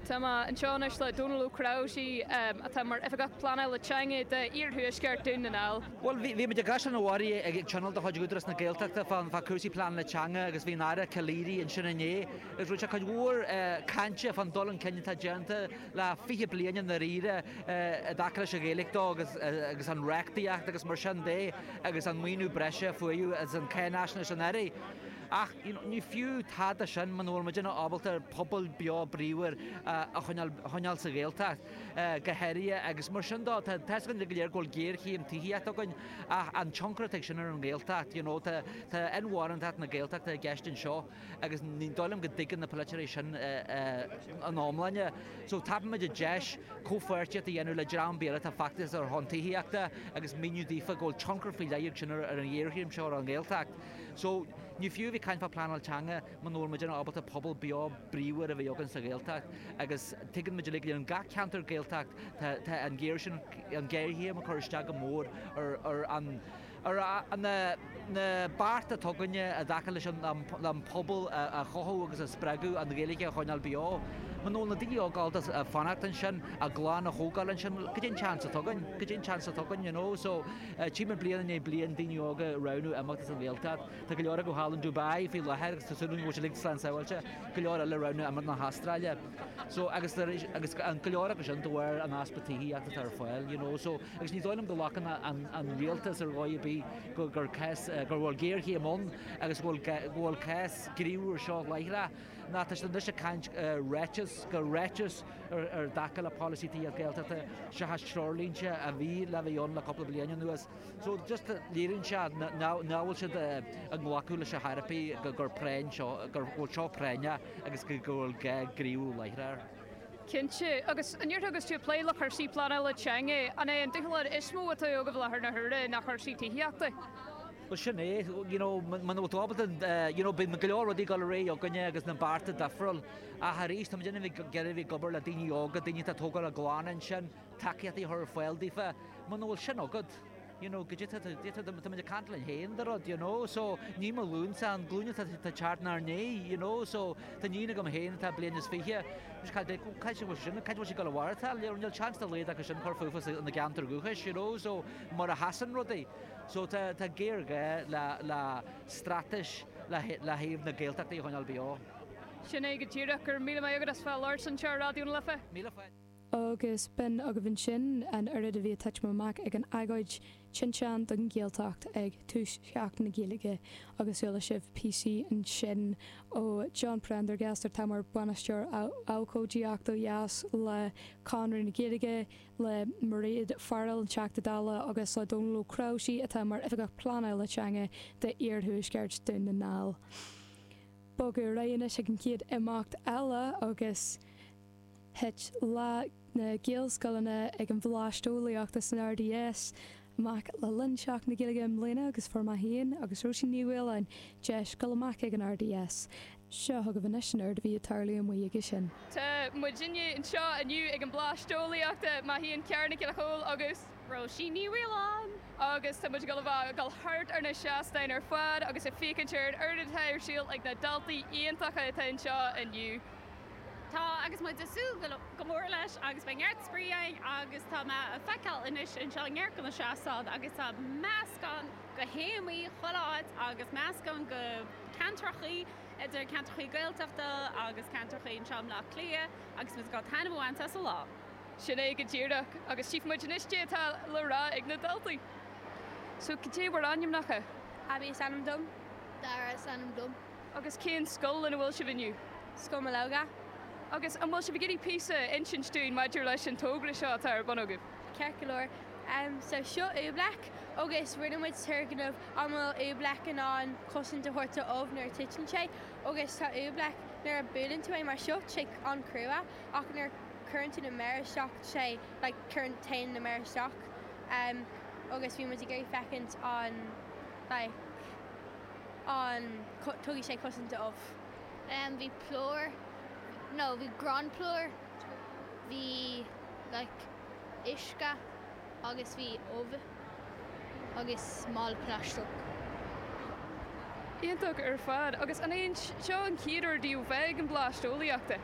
Tá mé anseo anois le Dónal Ó Cnáimhsí, atá mar Oifigeach Pleanála Teanga d'Iarthuaisceart Dhún na nGall. Bhuel, bhí muid i gCaisleán an Bharraigh ag tionól de chuid Údarás na Gaeltachta fá chúrsaí pleanála teanga agus bhí an Aire Calleary ansin inné agus rinne sé cuid mhór cainte fán dul chun cinn atá déanta le 20 bliain i ndáiríre i dtaca leis an Ghaeilge dó agus an reachtaíocht agus mar sin de agus an maoiniú breise a fuaireadh agus an cháinaisnéis an Aire. Ach ní fiú tada sin muna bhfuil muidinne ábalta pobal beo bríomhar a choinneáil sa Ghaeltacht go háirithe agus mar sin dó tá a fhios againn go léir go bhfuil géarchéim tithíochta againn ach an tionchar atá ag sin ar an nGaeltacht, you know, tá inmharthanacht na Gaeltachta i gceist anseo agus ní dóigh liom go dtuigeann na polaiteoirí sin ina iomláine. So tapaímid an deis comhpháirtíocht a dhéanamh le dream ar bith atá ag feachtas ar shon tithíochta agus míniú daofa go bhfuil tionchar faoi leith ag sin ar an ghéarchéim seo ar an nGaeltacht. So, ní fiú a bheith ag caint fá pleanáil teanga muna bhfuil muidinne ábalta pobal beo bríomhar a bheith againn sa Ghaeltacht agus tuigeann muid uilig in gach ceantar Gaeltacht tá tá an géar sin an géarchéim ag cur isteach go mór ar ar an ar na na bearta atá againne i dtaca leis an an pobal a chothú agus a spreagadh an Ghaeilge a choinneáil beo. Muna bhfuil na daoine óga ábalta fanacht ansin, a gclann a thógáil ansin, cad é an chance atá againn? Cad é an chance atá againn, you know? So, Tchímid bliain i ndiaidh bliain daoine óga ag roghnú imeacht as an Ghaeltacht. Tá go leor acu thall in Dubai faoi láthair agus tá súil againn go bhfuil siad uilig slán sábháilte. Go leor eile ag roghnú imeacht na hAstráile. So agus agus go leor acu sin de bharr an easpa tithíochta atá ar fáil, you know. So agus ní dóigh liom go nglacann an an rialtas ar dhóigh ar bith go gur cás go bhfuil géarchéim ann agus go bhfuil go bhfuil cás gníomhú ar seo láithreach. Ná tá siad anois ag caint ráiteas go ráiteas ar dtaca le polasaí tithíochta Gaeltachta seachas treoirlínte a bhí le bheith ann le cúpla bliain anuas. So just léiríonn sé nach bhfuil siad ag glacadh leis ar chor ar bith gur práinn seo, gur bhfuil seo práinneach agus go bhfuil gá gníomhú láithreach air. Cinnte. Agus an ndéarfá agus tú ag plé le cúrsaí pleanála teanga, an é an dúshlán is mó atá agaibh i láthair na huaire ná cúrsaí tithíochta? Bhuel sin é, you know, muna bhfuil tú ábalta, you know, bíonn go leor rudaí ag dul ar aghaidh againne agus na bearta difriúil ach arís tá muid ag iarraidh a bheith ag obair le daoine óga, daoine atá ag tógáil a gclann ansin, tacaíochtaí a chur ar fáil daofa. Muna bhfuil sin agat, you know, goidé tá, tá muid ag caint linn féin de rud, you know, so ní mo ghlúinsa, an glúin atá ag teacht inár ndiaidh, you know, so tá níon agam féin atá bliain is fiche, cá bhfuil sin, cá bhfuil sí ag dul a mhaireachtáil, níl seans dá laghad acu sin cur fúthu ina gceantar dúchais, you know, so mar a sheasann rudaí. So tá tá géarghá le le straitéis le le thaobh na Gaeltachta a choinneáil beo. Sin é go díreach. Go raibh míle maith agat as bheith ag labhairt anseo ar Raidió na Life. Míle fáilte. Agus b'in agaibh ansin an oiread a bhí ag titim amach ag an agóid Tinteán don Ghaeltacht ag tús Sheachtain na Gaeilge agus chuala sibh píosaí ansin ó John Prendergast atá mar Bhainisteoir Abhcóideachta ó dheas le Conradh na Gaeilge, le Mairéad Farrell, an Teachta Dála, agus le Dónal Ó Cnáimhsí, atá mar Oifigeach Pleanála Teanga d'Iarthuaisceart Dún na nGall. Bogadh ar aghaidh anois ag an chéad imeacht eile agus thit Lá na Gaelscoileanna ag an Bhleaist Eolaíochta san RDS amach le linn Seachtain na Gaeilge i mbliana agus fuair mé féin agus Róisín Ní Mhaoláin deis dul amach ag an RDS. Seo chugaibh anois an oiread a bhí ag tarlú amuigh aige sin. Tá muidinne anseo inniu ag an Bleaist Eolaíochta, mé féin Ciara Nic Giolla Chóill agus. Róisín Ní Mhaoláin. Agus tá muid ag dul a bheith ag dul thart ar na seastáin ar fad agus ag féachaint ar an oiread atá ar siúl ag na daltaí iontacha atá anseo inniu. Tá, agus muid ag súil go mór leis agus beidh neart spraoi againn agus tá mé ag feiceáil anois anseo neart de na seastáin agus tá meascán de théamaí chuile áit agus meascán de ceantrachaí idir ceantrachaí Gaeltachta agus ceantrachaí anseo i mBleá Cliath agus muid ag dul taitneamh a bhaint as an lá. Sin é go díreach agus tchífidh muid anois cad é atá le rá ag na daltaí. So cad é bhur ainmneacha? Abby is ainm dom. Dara is ainm dom. Agus cén scoil ina bhfuil sibh inniu? Scoil Mológa. Agus an bhfuil sibh ag iarraidh píosa a insint dúinn maidir leis an togra seo atá ar bun agaibh? Ceart go leor. So seo oobleck agus rinne muid turgnamh an bhfuil oobleck in ann cosaint a thabhairt do ubh nuair a titeann sé agus tá oobleck nuair a buaileann tú é mar seo tá sé an-chrua ach nuair a cuireann tú na méara isteach tá sé like cuireann téann na méara isteach agus bhí muid ag iarraidh féachaint an like an tugaidh sé cosaint do ubh. Bhí plúr no bhí gránphlúr bhí like uisce agus bhí ubh agus mála plaisteach. Iontach ar fad. Agus an é seo an chéad uair daoibh bheith ag an Bleaist Eolaíochta?